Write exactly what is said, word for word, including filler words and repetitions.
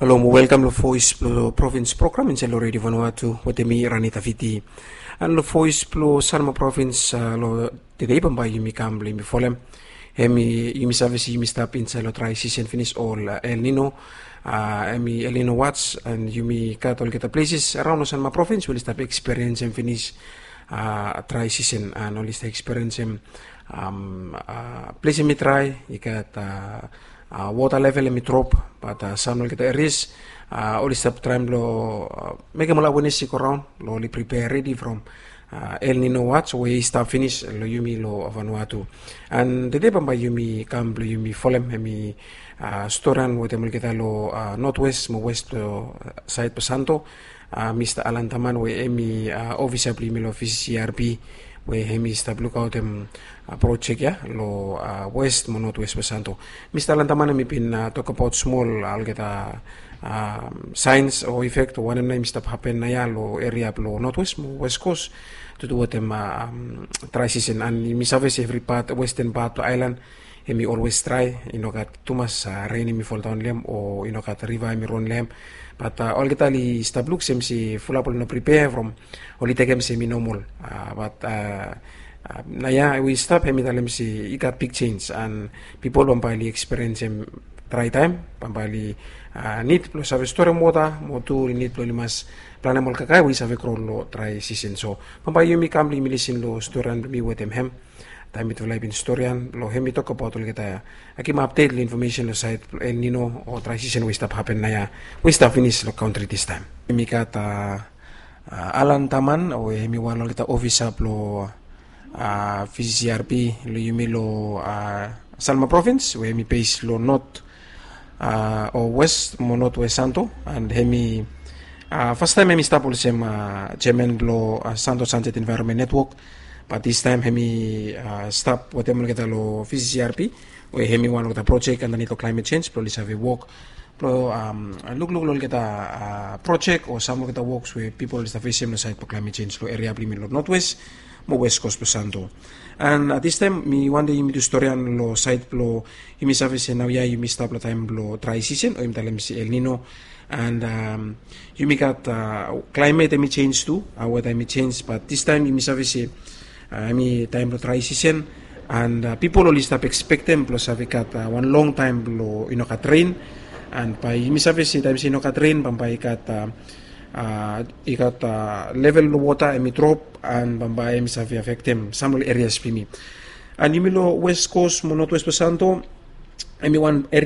Halo mo welkam long Voice blong Provins program insait long Radio Vanuatu wetem mi, Ranita Fiti. And long Voice blong Sanma Provins, long tedei bambae yumi kam blong yumi folem, hemi yumi save se yumi stap insait long dry season finis, ol El Nino, hemi El Nino watch, and yumi gat olgeta places araon long Sanma Provins we oli stap eksperiensem finis dry season, and oli stap eksperiensem ples hemi dry, i gat wota level hemi drop, bat sam long olgeta erias oli stap traem blong mekem ol awenes i go raon long oli pripea redi from El Nino watch we i stap finis long yumi long Vanuatu. And tede bambae yumi kam blong yumi folem hemi storian wetem olgeta long notwes mo wes blong sait blong Santo, Mista Alan Taman we hemi ofisa blong yumi long V C C R P, we hemi stap lukaotem projek ya long wes mo notwes blong Santo. Mista Alan Taman hemi bin tokbaot smol olgeta saens o efek wanem nao hemi stap hapen naoia long eria blong notwes mo wes kos, tudu wetem dry season, and yumi save se evri pat, westen pat blong aelan hemi olwes dry, i no gat tumas ren hemi foldaon long hem o i no gat riva hemi ron long hem. Bat olgeta oli stap luk sem se fulap oli no pripea from oli tekem se hemi nomol. Bat naoia we i stap hemi talem se i gat big jenis, and pipol bambae oli eksperiensem dry taem, bambae oli nid blong save storem wota mo tu oli nid blong oli mas planem ol kakae we i save gro long dry season. So bambae yumi kam blong yumi lisin long storian blong mi wetem hem, taem mitufala i bin storian long hem i tokbaot olgeta, givim apdet long infomesen long sait blong El Nino o dry season we i stap hapen naoia, we i stap finis long kantri distaem. Hemi gat Alan Taman we hemi wan long olgeta ofisa blong V C C R P long yumi long Sanma Provins we hemi base long not o wes mo notwes Santo, and hemi fastaem hemi stap olsem jeaman blong Santo Sunset Environment Network, bat distaem hemi stap wetem olgeta long V C C R P, we hemi wan olgeta projek andanit long climate change blong oli save wok blong lukluk long olgeta projek o sam long olgeta woks we pipol oli stap fesem long sait blong climate change long eria blong yumi long notwes mo wes kos blong Santo. And distaem mi wantem yumi tu storian long sait blong, yumi save se naoia yumi stap long taem blong dry season o yumi talem se El Nino, and yumi gat klaimet hemi jenis tu, weta hemi jenis, bat distaem yumi save se hemi taem blong dry season, and pipol oli stap ekspektem blong save gat wan long taem blong i no gat ren, and bae yumi save se taem se i no gat ren bambae i gat i gat level blong wota hemi drop, and bambae hemi save afektem sam long ol erias blong yumi. And yumi long wes kos mo notwes blong Santo, hemi wan